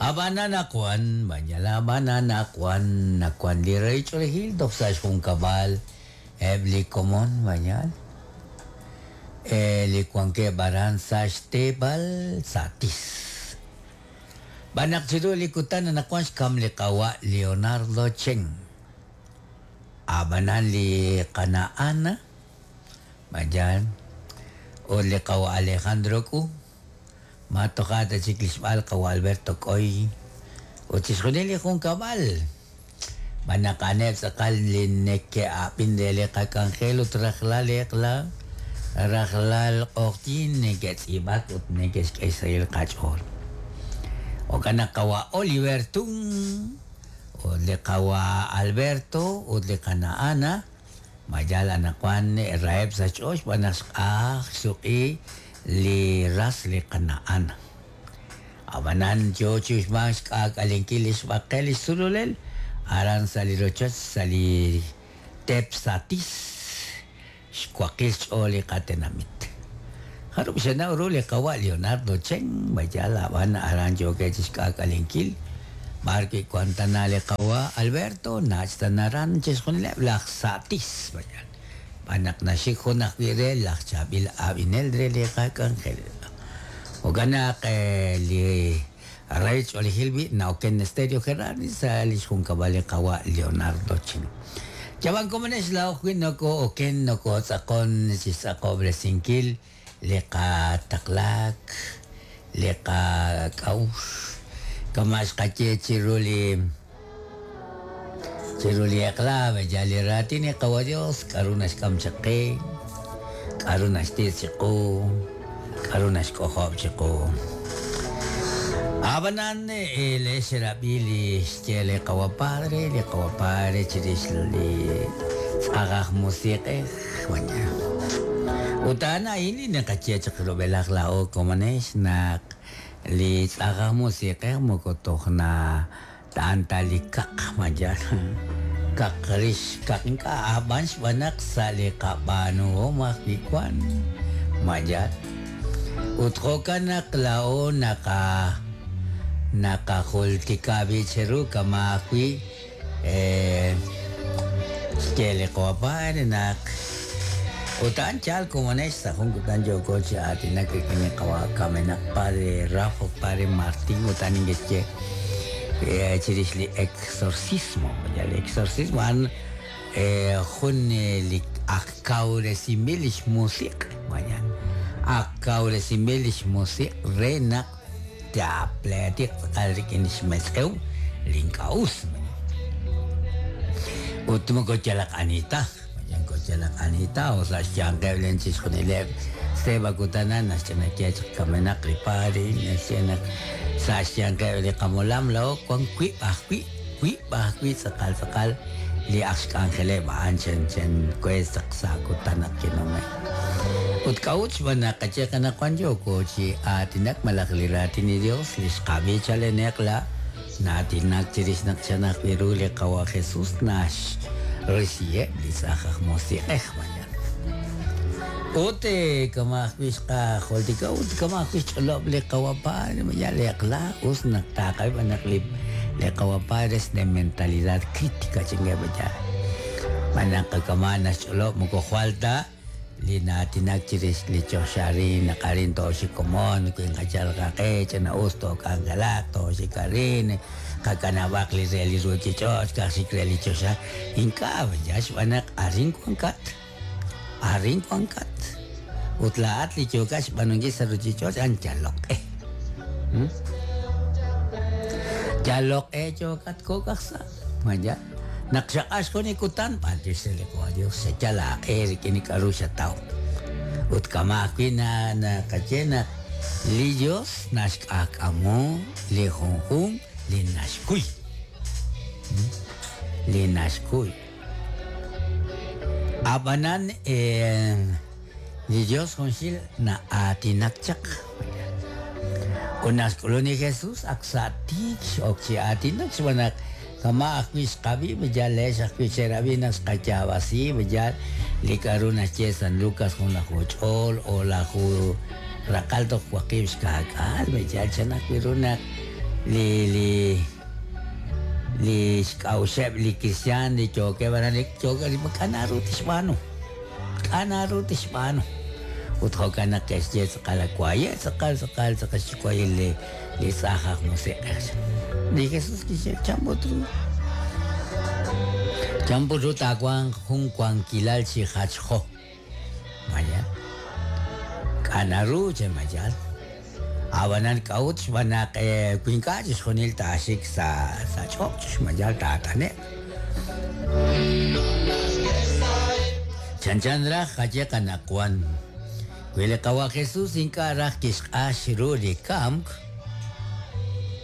Ab'an anaqwan, b'anyal ab'an anaqwan, nawan li rahil ch'oolejil toj sa' xjunkab'al eb' li komon b'anyal li wankeb' aran sa' xteepal Satis. B'an naq chiru li kutan anaqwan xkam li qawa' Leonardo Chen. Ab'anan li qana' Ana b'anyal ut li qawa' Alejandro K'u ma toja' ta chik li xb'al qawa' Alberto K'oy ut chixjunil li junkab'al. B'an naq a'aneb' tz'aqal li neke'ab'in re li qak'anjel ut rajlal eq'la, rajlal q'oqyink neke'tz'iib'ak ut neke'xk'e xsahil qach'ool. Jo'kan naq qawa' Oliver Tun ut li qawa' Alberto ut li qana' Ana ma yal anaqwan raheb' sa' xch'ool xb'aan naq xq'aj xsuq'i li ras li qana' Ana. Ab'anan yo chi uxmank xk'aak'alenkil li xb'aqel li xsululel aran sa' li rochoch sa' li teep Satis, xwaqil xch'ool li qatenamit. Jarub' xenaw ru li qawa' Leonardo Chen, ma yaal ab'an aran yookeb' chi xk'aak'alenkil b'ar wi' wank tana li qawa' Alberto, nach' tana aran chixjunileb' laj Satis, ma yaal. Xb'aan naq naxik jun ajwi' re laj chaab'il ab'inel re li qak'anjel. Jo'kan naq li rahil ch'oolejil b'i' na'oken Stereo Gerardi sa' li xjunkab'al li qawa' Leonardo Chen. Chab'an komonex laa'o ajwi' nokoo'oken nokootz'aqon chi xtz'aqob'resinkil li qataqlaak, li qak'a'uxl, kama' xqaye chiru li chiru li eq'la, yal li raatin li Qawa' Dios, k'a'ru naxk'am chaq qe, k'a'ru naxtitz' chiqu, k'a'ru naxk'ojob' chiqu. Ab'anan leex xerab'i li xye li Qawa' Padre, li Qawa' Padre chirix li tz'aj aj musiq'ej. Ut a'an a'in li naqaye chaq rub'elaj laa'o komonex naq li tz'aj aj musiq'ej moko toj na ta'an ta li kaq ma yaal kaq rix kaq ink'a' ab'an xb'aan naq sa' li qab'aanuhom ajwi' wan ma yaal ut jo'kan naq laa'o naqa naqajultika b'i' cheru kama' ajwi' Xye li Qawa' naq ut a'an yaal komonex sa' jun kutan yooko chi aatinak rik'in li Qawa' kamenaq Padre Rafa, Padre Martín ut a'an ink'exye chirix li exorcismo. Li exorcismo a'an jun li ak kawresinb'il lix musiq', vaya, ak kawresinb'il lix musiq' re naq taapleetiq tz'aqal rik'in li xmetz'ew li ink'a' us. Ut moko yalaq ani ta, moko yalaq ani ta, o sa' xyanqeb' len chixjunileb' seba kutan a'an naxch'ina ye chaq kamenaq li padre, naxye naq sa' xyanqeb' li qamolam laa'o wan wiib' ajwi', wiib' ajwi' tz'aqal tz'aqal li aj xk'anjeleb' a'an chen chen we saq sa' kutan naq kinume'. Ut k'a'ut xb'aan naq qaye qanaqwan yooko chi aatinak malaj li raatin li Dios li xqab'i chaleneq la na'aatinak chirix naq chan ajwi' ru li Qawa' Jesus naxrisiheb' li tz'aj aj musiq'ej mañana. Ut kama' ajwi' xqajultika ut kama' ajwi' xch'olob' li Qawa' Padre mañana li eq'la us naq taqab'i b'an naq li li Qawa' Padre es de mentalidad crítica chinkeb' mañana. B'an naq kama' naxch'olob' moko jwal ta li na'aatinak chirix li choxa arin naq arin tooxik komon wi nqachal qaq'e ch'ina'us took'anjelaq tooxik arin qakanab'aq li re li ruuchich'och' ka'aj xik re li choxa ink'a' yal xb'aan naq arin wankat arin wankat ut laa'at li yookat xb'aanunkil sa' ruuchich'och' a'an yalok q'e yalok q'e yookat kok' aj sa' ma yaal Naq xaq'ax jun li kutan, b'antiox re li Qawa' Dios, xayal aaq'e rik'in li k'a'ru xataw. Ut kama' ajwi' naqaye naq li Dios naxk'aak'amu li junjunq li naxkuy. Li naxkuy. A'b'anan li Dios junxil na'aatinak chaq. Ut naq xk'ulun li Jesus, ak sa' tiik x'ok chi aatinak xb'aan naq kama' ajwi' xqab'i, yal leex ajwi' xerab'i naq xqayaab'asi, yal li k'a'ru naxye San Lucas junlaju ch'ool o'laju raqal toj waqib' xka'k'aal, yal chan ajwi' ru naq li li li xk'a'uxeb' li kristiaan li yookeb' aran li yookeb' li k'a' naru tixb'aanu k'a' naru tixb'aanu ut jo'kan naq ke'xye tz'aqal waye' tz'aqal tz'aqal tz'aqal xyuwa'il li li tz'aj aj musiq'ej li Jesús kixye chan put ru chan put ru taawanq jun wankilal chi jachjo maya k'a' naru che mayal ab'anan k'a'ut xb'aan naq wi ink'a' chixjunil taaxik sa' sa' ch'och' xmayal taat'ane'q chanchan raj qaye qanaqwan wi li qawa' Jesús ink'a' raj kixq'ax ru li kamk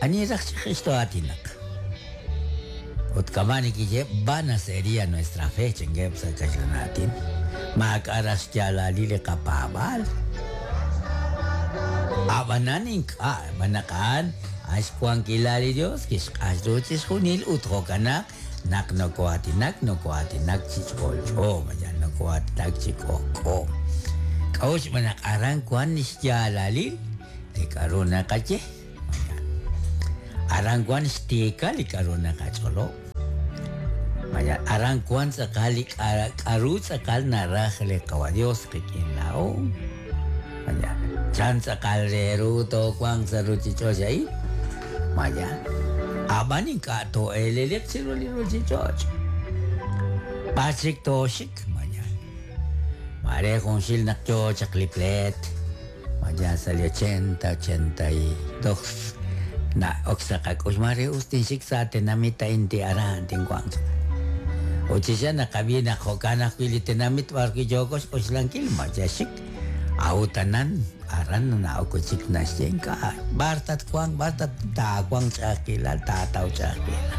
ani raj chik xto'aatinaq ut kama' nikiye vana sería nuestra fe chankeb' sa' kaxlan aatin maak'a' raj xyaalalil li qapaab'aal ab'anan ink'a' xb'aan naq a'an a'an xwankilal li Dios kixq'ax ru chixjunil ut jo'kan naq naq noko'aatinak noko'aatinak chi ch'olch'o mayal noko'aatinak chi k'ojk'o k'a'ut xb'aan naq aran wan xyaalalil li k'a'ru naqaye aran wan xtiikal li k'a'ru naqach'olob' maya aran wan tz'aqal li k'a'ru tz'aqal naraj li qawa Dios qik'in laa'o maya chan tz'aqal re ru toowanq sa' ruchich'och' a'in maya ab'an ink'a' too'eleliq chiru li ruchich'och' b'ar chik tooxik maya mare junxil naq yoo chaq li pleet maya sa' li 80 82 na'ok sa' qak'ux mare us tinxik sa' tenamit a'in ti aran tinwanq ut chi xa naqab'i naq jo'kan ajwi' li tenamit b'ar wi' yooko xk'oxlankil maya xik a'ut anan aran na'ok chik naxye ink'a' b'ar tatwanq b'ar taawanq ch'a'ajkilal taataw ch'a'ajkilal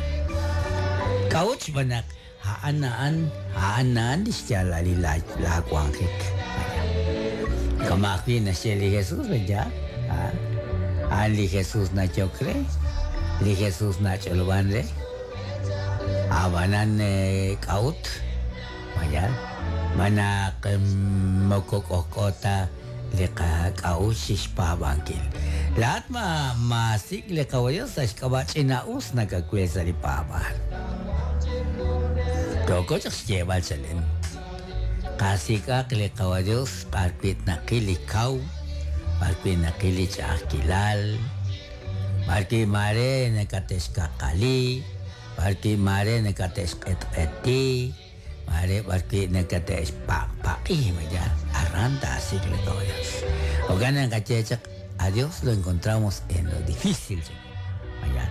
k'a'ut xb'aan naq a'an a'an a'an a'an li xyaalalil laawanjik kama' ajwi' naxye li Jesús ya a'an li Jesús nayok re li Jesús nach'olob'an re ab'anan k'a'ut mayal manaq moko k'ojk'o ta li qak'a'uxl xpaab'ankil laa'at ma maasik' li qawa Dios sa' xk'ab'a' ch'ina'us nakawil sa' li paab'aal yooko chaq xyeeb'al chalen qasik'aq li qawa Dios b'ar wi' naqil li kaw b'ar wi' naqil li ch'a'ajkilal b'ar wi' mare nakate'xkaqali b'ar wi' mare nakate'xq'etq'eti mare b'ar wi' nakate'xpaqpaq'i maya aran taasik' li qawa Dios jo'kan naq qaye chaq a Dios lo encontramos en lo difícil maya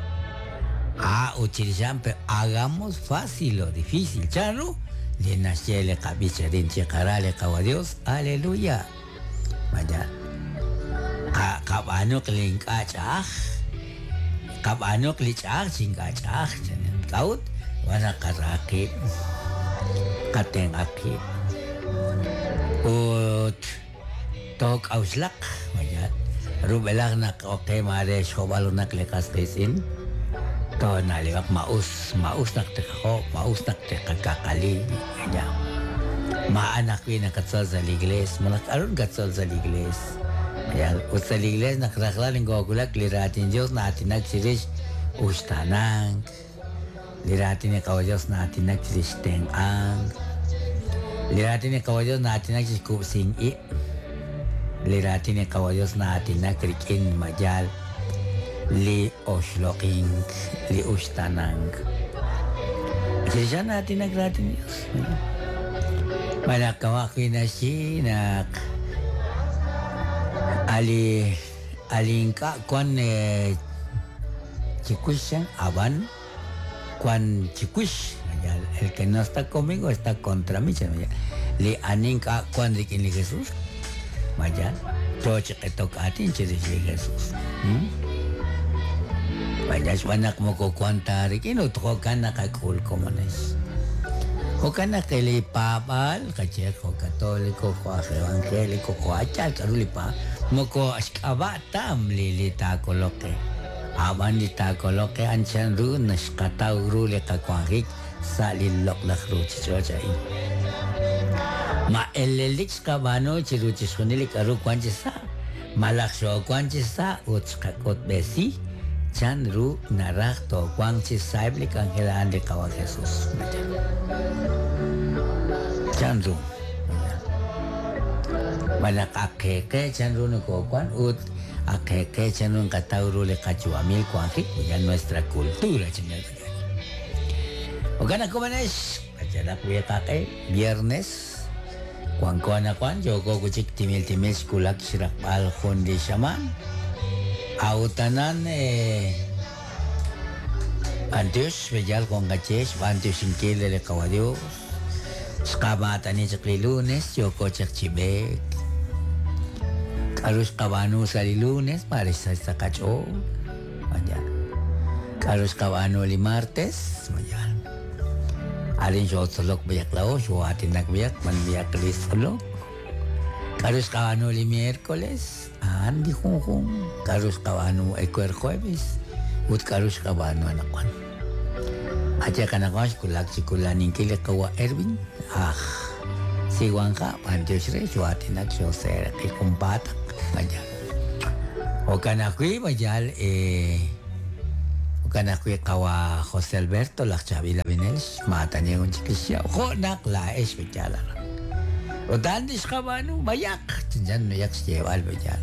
ah ut chirix a'an pero hagamos fácil lo difícil chan ru li naxye li qab'ich arin chiqara li qawa Dios aleluya maya qab'aanuq li ink'a' ch'a'aj qab'aanuq li ch'a'aj chi ink'a' ch'a'aj k'a'ut wan naq qarahaq qib' qatenq'aq qib' ut took'a'uxlaq maya rub'elaj naq oqe mare xjob'al junaq li qas qiitz'in toona'leb'aq ma'us ma'us naq tiqajob' ma'us naq tiqakaqali ya ma'an ajwi' naqatzol sa' li iglees malaj k'a'ru nakatzol sa' li iglees maya ut sa' li iglees naq rajlal nkowulak li raatin Dios na'aatinak chirix uxtaanank li raatin li qawa Dios na'aatinak chirix tenq'ank li raatin li qawa Dios na'aatinak chirix kub'sink ib' li raatin li qawa Dios na'aatinak rik'in mayal li oxloq'ink li uxtaanank chirix a'an na'aatinak raatin Dios malaj kama' ajwi' naxye naq ali ali ink'a' wan chiwix ab'an wan chiwix el que no está conmigo está contra mí li ani ink'a' wan rik'in li Jesús maya yoo chi q'etok aatin chirix li Jesús maya xb'aan naq moko wan ta rik'in ut jo'kan naqak'ul komonex jo'kan naq li paab'aal qaye jo' católico jo' aj evangélico jo' achal k'a'ru li paab' moko xk'ab'a' tam li li taakoloq qe ab'an li taakoloq qe a'an chan ru naxqataw ru li qawanjik sa' li loq'laj ruchich'och' a'in ma elelik xqab'aanu chiru chixjunil li k'a'ru wan chi sa' malaj xoowan chi sa' ut xqak'utb'esi Chanru naraj toowanq chi sa'eb' li k'anjel a'an li Qawa' Jesus. Chanru. Ma naq ak qe qe chanru nokowan ut ak qe qe chanru nqataw ru li qayu'amil wanjik, ya nuestra cultura chingal. Jo'kan naq komanex, qachalaq wi qaq'e, viernes, wanko anaqwan, yooko wi' chik timil timil xwulak xraqb'al jun li xamaan. A'utanan b'antiox b'eyal jun qaye xb'antioxinkil li Qawa' Dios. Xqamaatani chaq li lunes, yooko chaq chi b'eek. K'aru xqab'aanu sa' li lunes, mare xsach sa' qach'ool. Mañana. K'aru xqab'aanu li martes, mañana. Arin xootzolok b'ayaq laa'o, xoo'aatinak b'ayaq, man b'ayaq li tzolok. K'aru xqab'aanu li miércoles, a'an li junjunq. K'aru xqab'aanu ewer jueves, ut k'aru xqab'aanu anaqwan. Ache qanaqwan xwulak chi kulaninkil li qawa' Erwin, aj Siwanja, b'antiox re xoo'aatinak xooseeraq'i junpaataq, mañana. Jo'kan ajwi' mayal jo'kan ajwi' qawa' José Alberto laj chaab'il ab'inel xmaatani jun chik li xyaab' jo' naq laa'ex b'eyal aran. Ut a'an li xqab'aanu b'ayaq, chanchan b'ayaq xyeeb'al b'eyal.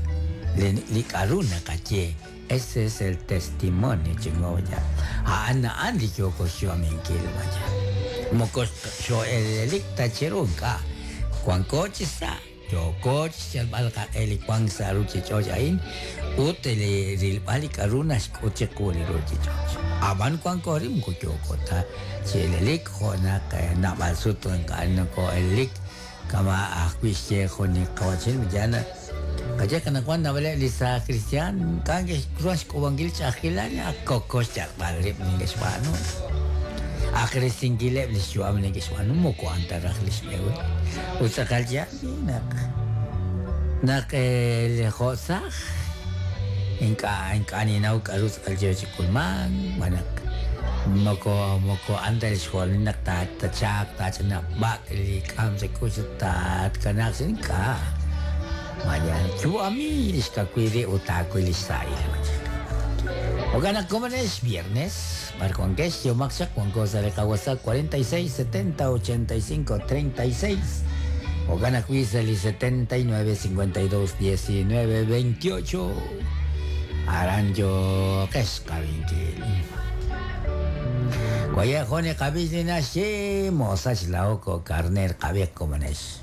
Li k'aru naqaye, ese es el testimonio chingo b'eyal. A'an a'an li yooko xyu'aminkil b'ayal. Moko xoo'elelik ta chiru ink'a'. Wanko chi sa', yooko xyalb'al qaq'e li wank sa' ruuchich'och' a'in ut li rilb'al li k'aru naxk'ut chiqu li ruuchich'och'. Ab'an wanko ri moko yooko ta chi elelik jo' naq naab'al sut ink'a' nokoo'elelik kama' ajwi' xye jun li qawa'chin yana qaye qanaqwan naab'aleb' li saaj cristian ink'a' neke'xruhan xk'uub'ankil ch'a'ajkilal ak koko xyalb'al rib' neke'xb'aanu. Ak risinkileb' li xyu'am neke'xb'aanu moko a'an ta raj li xb'ehul. Ut tz'aqal yaal naq naq li jo' saaj ink'a' ink'a' ninnaw k'aru tz'aqal yo chi k'ulmank, xb'aan naq moko moko a'an ta li xjolomil naq tachaaq taach'inaq b'ak' li k'am sa' k'ux ut tatkanaaq sa' ink'a'. Mañana yu'ami li xkawil rib' ut taawil li xsahil. Jo'kan naq komonex viernes, b'ar wankex yomaq chaq wanko sa' li qaWhatsApp 46 70 85 36. Jo'kan ajwi' sa' li 79 52 19 28. Aran yoqex qabinkil. Waye jun li qab'ix li naxye mosach laoko karner qab'i komonex.